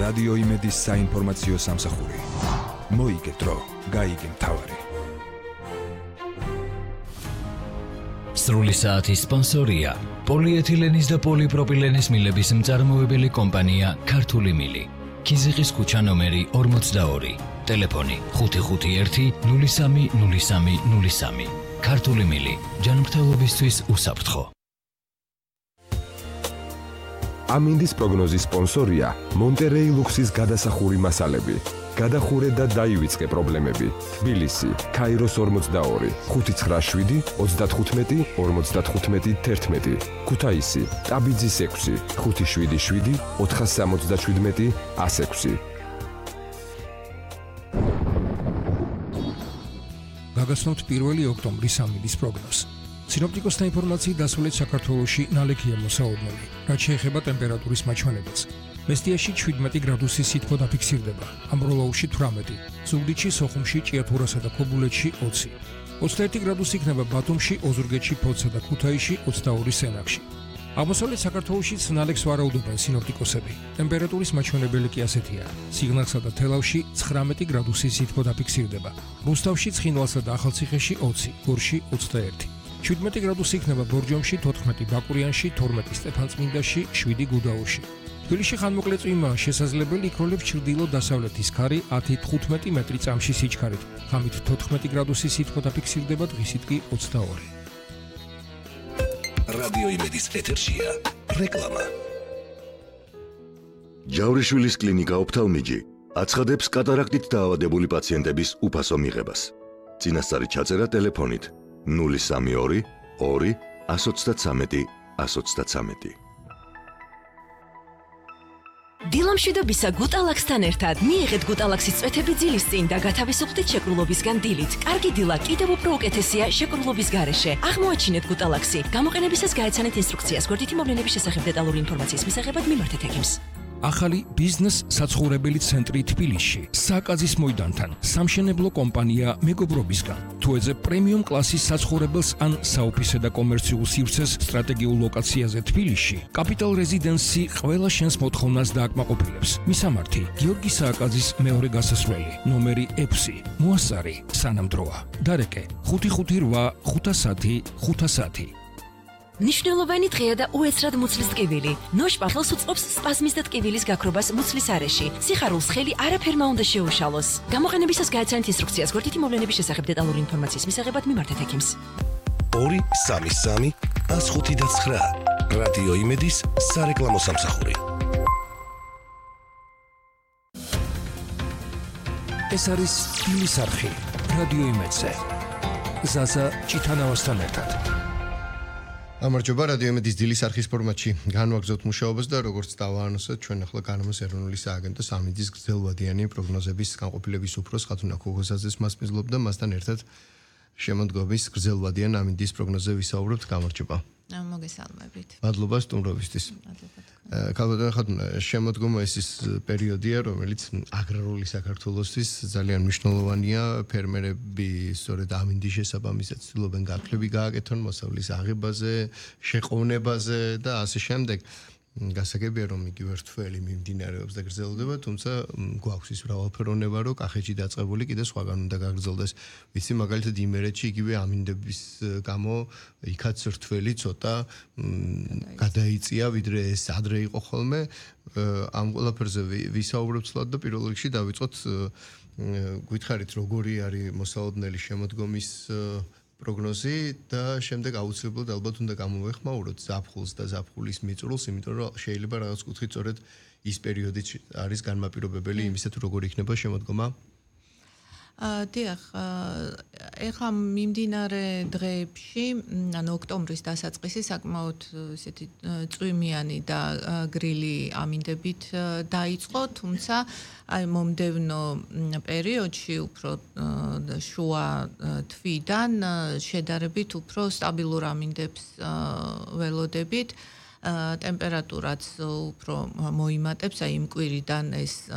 რადიო იმედის საინფორმაციო სამსახური. მოიგე დრო, გაიგე მთავარი. სრული საათის სპონსორია პოლიეთილენის და პოლიპროპილენის მილების მწარმოებელი კომპანია ქართული მილი. ქიზიყის ქუჩა ნომერი 42. ტელეფონი 551-030303. ქართული მილი. ჯანმრთელობისთვის უსაფრთხო. ამინდის პროგნოზის სპონსორია მონტერეი ლუქსის გადასახური მასალები. გადახურე და დაივიწყე პრობლემები. თბილისი, ქაიროს 42, 597 35 55 11. ქუთაისი, ტაბიძის 6, 577 477 106. გაგაცნობთ 1 ოქტომბრის ამინდის პროგნოზს. სინოპტიკოსთა ინფორმაციით დასავლეთ საქართველოში ნალექია მოსაოდნელი, რაც შეეხება ტემპერატურის მაჩვენებელს. მესტიაში 17 გრადუსი სითბო დაფიქსირდება, ამბროლაუში 18, ზუგდიდში, სოხუმში, ჭიათურასა და ქობულეთში 20. 21 გრადუსი იქნება ბათუმში, ოზურგეთში, ფოთსა და ქუთაისში, 22 სენაკში. აღმოსავლეთ საქართველოშიც ნალექს ვარაუდობენ სინოპტიკოსები. ტემპერატურის მაჩვენებელი კი ასეთია: სიღნაღსა და თელავში 19 გრადუსი სითბო დაფიქსირდება, რუსთავში, ცხინვალსა და ახალციხეში 20, გორში 21. 17 გრადუსი იქნება ბორჯომში, 14 ბაკურიანში, 12 სტეფანწმინდაში, 7 გუდაურში. თბილისში ხანმოკლე წვიმაა შესაძლებელი, იქროლებს ჩრდილო-დასავლეთის ქარი 10-15 მეტრი წამში სიჩქარით. ღამით 14 გრადუსი სითბო დაფიქსირდება, დღისით კი 22. რადიო იმედის ეთერშია რეკლამა. ჯავრიშვილის კლინიკა ოფთალმიჯი აცხადებს კატარაქტით დაავადებული პაციენტების უფასო მიღებას. წინასწარი ჩაწერა ტელეფონით 032 2 133 133. დილამშვიდობისა გუტალაქსთან ერთად მიიღეთ გუტალაქსის წვეთები ძილის წინ და გათავისუფლდით შეკრულობისგან დილით. კარგი დილა კიდევ უფრო უკეთესია შეკრულობის გარეშე. აღმოაჩინეთ გუტალაქსი. გამოყენებისას გაეცანეთ ინსტრუქციას. გვერდითი მოვლენების შესახებ დეტალური ინფორმაციის მისაღებად მიმართეთ ექიმს. ახალი ბიზნეს საცხოვრებელი ცენტრი თბილისში, საკაზის მოედანთან, სამშენებლო კომპანია მეგობრობისგან. თუ ეძებ პრემიუმ კლასის საცხოვრებელს ან საოფისე და კომერციულ სივრცეს სტრატეგიულ ლოკაციაზე თბილისში, კაპიტალ რეზიდენსი ყველა შენს მოთხოვნას დააკმაყოფილებს. მისამართი: გიორგი სააკაძის მეორე გასასვლელი, ნომერი 6, მოასწარი, სანამდროა. დარეკე: 558 510 510. ნიშნულოვანი დღეა და უეცრად მუცლის ტკივილი. ნოშპახელს უწყობს სპაზმის და ტკივილის გაქრობას მუცლის არეში. სიხარულს ხელი არაფერმა უნდა შეუშალოს. გამოყენებისას გაეცანეთ ინსტრუქციას. გვერდითი მოვლენების შესახებ დეტალური ინფორმაციის მისაღებად მიმართეთ ექიმს. 233 105 რადიო იმედის სარეკლამო სამსახური. ეს არის თბილის არხი, რადიო იმედზე. ზაზა ჭიტანავასთან ერთად. ამარჯობა, რადიო იმედის დილის არხის ფორმატში განვაგრძობთ მუშაობას და როგორც დავაანონსეთ, ჩვენ ახლა განამოს ეროვნული სააგენტოს ამინდის გრძელვადიანი პროგნოზების განყოფილების უფროს ხათუნა ქუგოზაძეს მასპინძლობდა, მასთან ერთად შემოდგომის გრძელვადიან ამინდის პროგნოზზე ვისაუბრებთ. გამარჯობა. მოგესალმებით. მადლობა სტუმრობისთვის. ქალბატონო ხათუნა, შემოდგომა ის პერიოდია, რომელიც აგრარული საქართველოსთვის ძალიან მნიშვნელოვანია. ფერმერები სწორედ ამინდის შესაბამისად ცდილობენ გაფლები გააკეთონ მოსავლის აღებაზე, შეყოვნებაზე და ასე შემდეგ. გასაგებია, რომ იგივე რთველი მიმდინარეობს და გრძელდება, თუმცა გვაქვს ის მრავალფეროვნება, რომ კახეთში დაწყებული კიდე სხვაგან უნდა გაგრძელდეს. ვიცი, მაგალითად იმერეთში იგივე ამინდების გამო იქაც რთველი ცოტა გადაიწია, ვიდრე ეს ადრე იყო ხოლმე. ამ ყველაფერზე ვისაუბრებთ სულად და პირველ რიგში დავიწყოთ გითხარით, როგორი არის მოსაოდნელი შემოდგომის პროგნოზი და შემდეგ აუცილებლად ალბათ უნდა გამოვეხმაუროთ ზაფხულს და ზაფხულის მიწურულს, იმიტომ რომ შეიძლება რაღაც კუთხით სწორედ ის პერიოდი არის განმაპირობებელი იმისა, თუ როგორი იქნება შემოდგომა. დიახ, ეხლა მიმდინარე დღეებში, ანუ ოქტომბრის დასაწყისი საკმაოდ ესეთი წვიმიანი და გრილი ამინდებით დაიწყო, თუმცა აი მომდევნო პერიოდში უფრო შუა თვიდან შედარებით უფრო სტაბილურ ამინდებს ველოდებით. ტემპერატურაც უფრო მოიმატებს, აი იმ კვირიდან ეს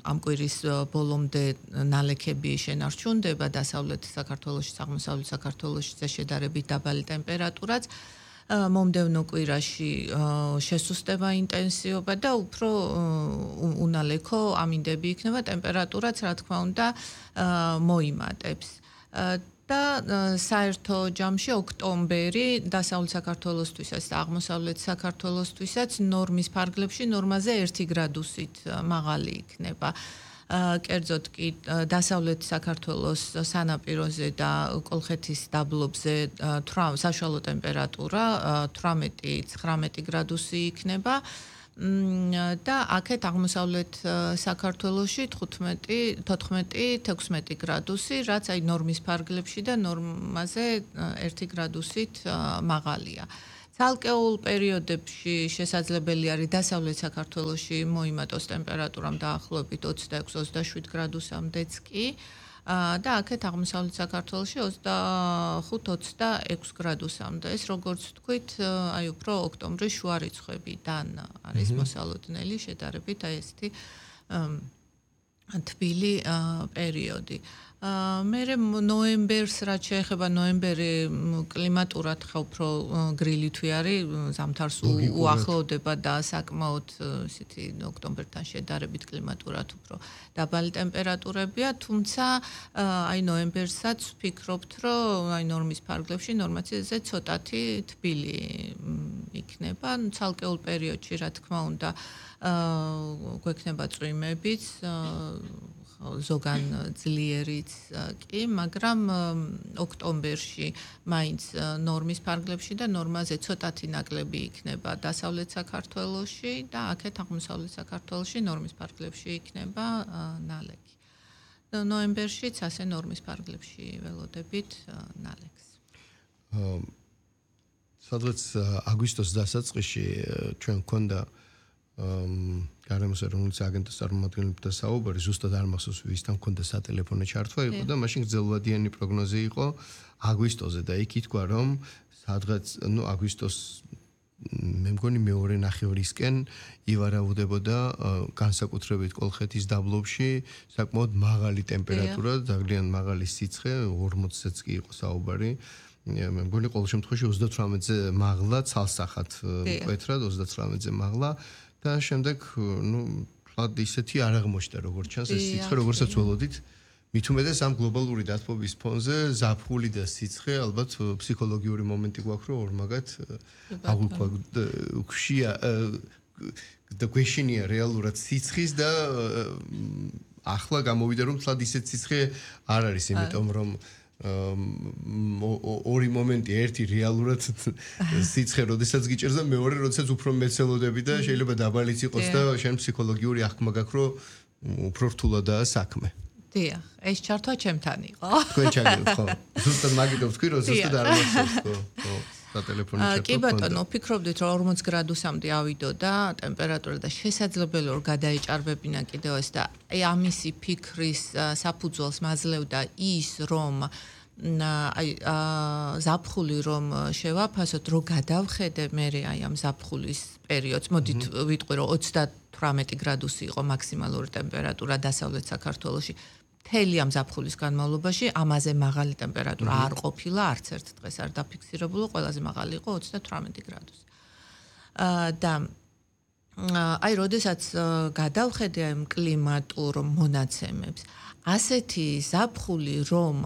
ამ კვირის ბოლომდე ნალექები შენარჩუნდება დასავლეთ საქართველოში, აღმოსავლეთ საქართველოში შედარებით დაბალი ტემპერატურაც. მომდევნო კვირაში შესუსტება ინტენსივობა და უფრო უნალექო ამინდები იქნება, ტემპერატურაც რა თქმა უნდა მოიმატებს. და საერთო ჯამში ოქტომბერი დასავლეთ საქართველოსთვისაც და აღმოსავლეთ საქართველოსთვისაც ნორმის ფარგლებში ნორმაზე 1 გრადუსით მაღალი იქნება. კერძოდ კი დასავლეთ საქართველოს სანაპიროზე და კოლხეთის დაბლობზე საშუალო ტემპერატურა 18-19 გრადუსი იქნება. და აქეთ აღმოსავლეთ საქართველოში 15-16 გრადუსი, რაც აი ნორმის ფარგლებში და ნორმაზე 1 გრადუსით მაღალია. ცალკეულ პერიოდებში შესაძლებელი არის დასავლეთ საქართველოში მოიმატოს ტემპერატურამ დაახლოებით 26-27 გრადუსამდეც კი. და აქეთ აღმოსავლეთ საქართველოში 25-26 გრადუსამდე. ეს როგორც ვთქვით, აი უფრო ოქტომბრის შუა რიცხვებიდან არის მოსალოდნელი შედარებით აი ესეთი თბილი პერიოდი. მერე ნოემბერს რაც შეეხება ნოემბერი კლიმატურად ხა უფრო გრილითვი არის, ზამთარს უახლოვდება და საკმაოდ ისეთი ოქტომბერთან შედარებით კლიმატურად უფრო დაბალი ტემპერატურებია, თუმცა აი ნოემბერსაც ვფიქრობთ, რომ აი ნორმის ფარგლებში ნორმაციაზე ცოტათი თბილი იქნება, ცალკეულ პერიოდში რა თქმა უნდა გვექნება წვიმებიც ზოგან ძლიერიც კი, მაგრამ ოქტომბერში მაინც ნორმის ფარგლებში და ნორმაზე ცოტათი ნაკლები იქნება დასავლეთ საქართველოში და აქეთ აღმოსავლეთ საქართველოში ნორმის ფარგლებში იქნება ნალექი. ნოემბერშიც ასე ნორმის ფარგლებში ველოდებით ნალექს. სადღაც აგვისტოს დასაწყისში ჩვენ გქონდა გარემოს ეროვნული აგენტოს წარმომადგენლებთან საუბარი, ზუსტად არ მახსოვს ვისთან გქონდა სატელეფონო ჩართვა იყო და მაშინ გრძელვადიანი პროგნოზი იყო აგვისტოზე და იქ ითქვა რომ სადღაც აგვისტოს მე მგონი მეორე ნახევრისკენ ივარაუდებოდა განსაკუთრებით კოლხეთის დაბლობში საკმაოდ მაღალი ტემპერატურა, ძალიან მაღალი სიცხე, 40-ზე კი იყო საუბარი. მე მგონი ყოველ შემთხვევაში 38-ზე მაღლა ცალსახად მკვეთრად 38-ზე მაღლა და შემდეგ თლად ისეთი არ აღმოჩნდა როგორც ჩანს ეს სიცხე როგორცაც ველოდით მით უმეტეს ამ გლობალური დათბობის ფონზე ზაფხული და სიცხე ალბათ ფსიქოლოგიური მომენტი გვაქვს რომ ორმაგად აღუქვია და გვეშინია რეალურად სიცხის და ახლა გამოვიდა რომ თლად ისეთ სიცხე არ არის იმიტომ რომ ორი მომენტი, ერთი რეალურად სიცხე, როდესაც გიჭერს და მეორე, როდესაც უფრო მეცელოდები და შეიძლება დაბალიც იყოს და შენ ფსიქოლოგიური აღქმა გაქვს, რომ უფრო რთულადაა საქმე. დიახ, ეს ჩართვა ჩემთან იყო. თქვენ ჩაგერთ ხო? ზუსტად მაგითო ვთქვი, რომ ზუსტად არ მახსოვს ხო? სატელეფონო ჩართვა. კი ბატონო, ვფიქრობდით, რომ 40 გრადუსამდე ავიდო და ტემპერატურა და შესაძლებელი რომ გადაეჭარბებინა კიდევ ეს და აი ამისი ფიქრის საფუძველს მაძლევდა ის, რომ აი ზაფხული რომ შევაფასოთ, რომ გადავხედე მე აი ამ ზაფხულის პერიოდს, მოდით ვიტყვი რომ 38 გრადუსი იყო მაქსიმალური ტემპერატურა დასავლეთ საქართველოში. მთელი ამ ზაფხულის განმავლობაში ამაზე მაღალი ტემპერატურა არ ყოფილა, არც ერთ დღეს არ დაფიქსირებულა, ყველაზე მაღალი იყო 38 გრადუსი. და აი, როდესაც გადავხედე ამ კლიმატურ მონაცემებს, ასეთი ზაფხული, რომ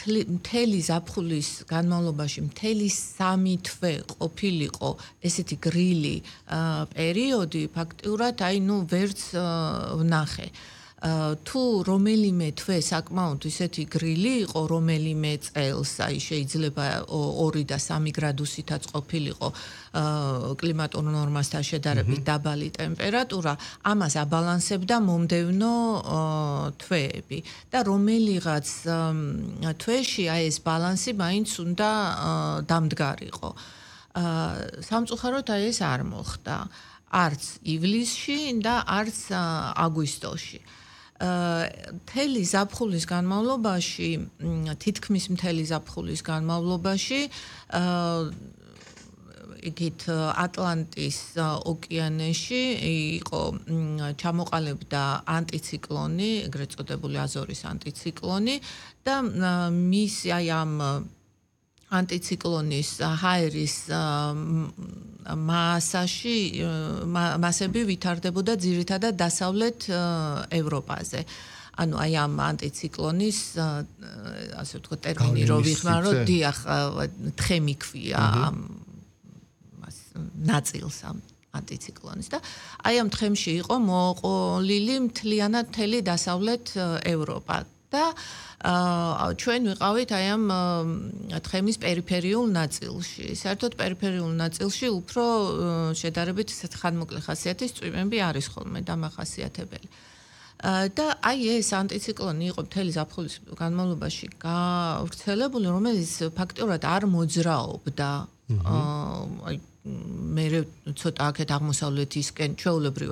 მთელი ზაფხულის განმავლობაში მთელი 3 თვე ყოფილიყო ესეთი გრილი პერიოდი, ფაქტიურად აი ვერც ვნახე. თუ რომელიმე თვე საკმაოდ ისეთი გრილი იყო, რომელიმე წელს, აი შეიძლება 2 და 3 გრადუსითაც ყოფილიყო კლიმატურ ნორმასთან შედარებით დაბალი ტემპერატურა, ამას აბალანსებდა მომდევნო თვეები და რომელიღაც თვეში აი ეს ბალანსი მაინც უნდა დამდგარიყო. სამწუხაროდ აი ეს არ მოხდა. არც ივლისში და არც აგვისტოში. მთელი ზაფხულის განმავლობაში, თითქმის მთელი ზაფხულის განმავლობაში იგით ატლანტის ოკეანეში იყო ჩამოყალიბდა ანტიციკლონი, ეგრეთ წოდებული აზორის ანტიციკლონი და მის აი ამ ანტიციკლონის ჰაერის მასები ვითარდებოდა ძირითადად დასავლეთ ევროპაზე. ანუ აი ამ ანტიციკლონის ასე ვთქვათ ტერმინი რო ვიხმარო, დიახ, თხემი ქვია ამ ნაწილს ამ ანტიციკლონის და აი ამ თხემში იყო მოყოლილი მთლიანად მთელი დასავლეთ ევროპა და ჩვენ ვიყავით აი ამ თხემის პერიფერიულ ნაწილში. საერთოდ პერიფერიულ ნაწილში უფრო შედარებით ხანმოკლე ხასიათის წვიმები არის ხოლმე დამახასიათებელი. და აი ეს ანტიციკლონი იყო მთელი ზაფხულის განმავლობაში გავრცელებული, რომელიც ფაქტობრივად არ მოძრაობდა. აი მე ცოტა აქეთ აღმოსავლეთისკენ ჩვეულებრივად